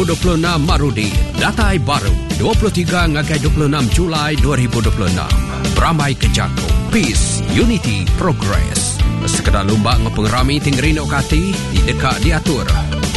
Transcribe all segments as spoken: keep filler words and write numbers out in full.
ribu dua puluh enam Marudi datai baru dua puluh tiga ngagai dua puluh enam Julai dua ribu dua puluh enam. Beramai ke jaku Peace, Unity, Progress. Sekedar lumba ngau pengerami tinggi rindu kati di dekat diatur.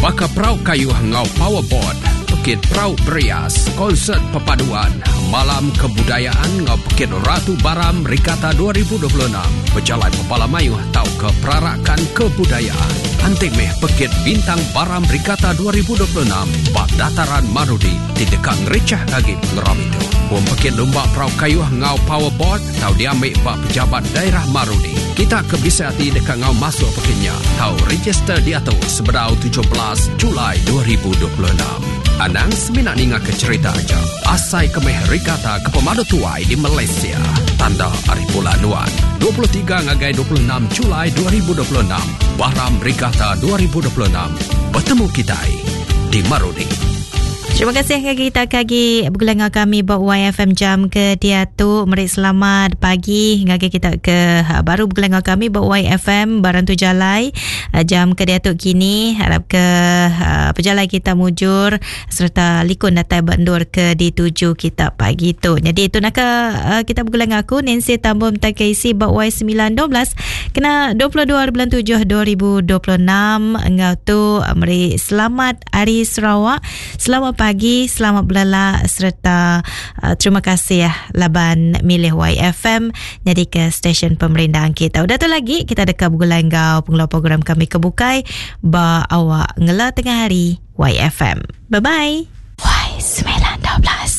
Baka perau kayu ngau powerboard, pekit perau berias, konsert perpaduan, malam kebudayaan ngau pekit Ratu Baram Regatta dua ribu dua puluh enam, berjalai pepala mayuh tau ke perarakan kebudayaan. Antik meh pekit Bintang Baram Regatta dua ribu dua puluh enam bak dataran Marudi di dekat ngericah lagi pengeram itu. Pun pekit lumba perau kayu ngau powerboard tau diambil bak pejabat daerah Marudi. Kita ke bisa hati dekat ngau masuk pekitnya tau register di atas sebedau tujuh belas Julai dua ribu dua puluh enam. Anang seminat ninga ke cerita aja. Asai kemeh Regatta ke pemadu tuai di Malaysia. Tanda hari bulan nuan. dua puluh tiga ngagai dua puluh enam Julai dua ribu dua puluh enam. Baram Regatta dua ribu dua puluh enam. Bertemu kita di Marudi. Terima kasih ke kita kagi bergulai dengan kami buat Y F M jam ke dia tu. Meri selamat pagi ngagi kita ke baru bergulai dengan kami buat Y F M barang tu jalai jam ke dia tu kini. Harap ke pejalai kita mujur serta likun datai bandur ke dituju kita pagi tu. Jadi itu nak ke kita bergulai dengan aku Nancy Tambom Takeisi buat Y sembilan dua belas kena dua puluh dua bulan tujuh dua ribu dua puluh enam. Engau tu meri selamat hari Sarawak. Selamat pagi, selamat berlala serta uh, terima kasih ya laban milih Y F M jadi ke stesen pemerintahan kita. Udah tu lagi kita dekat bergulai ngau pengelola program kami kebukai ba awak ngela tengah hari Y F M. Bye bye. Y sembilan dua belas.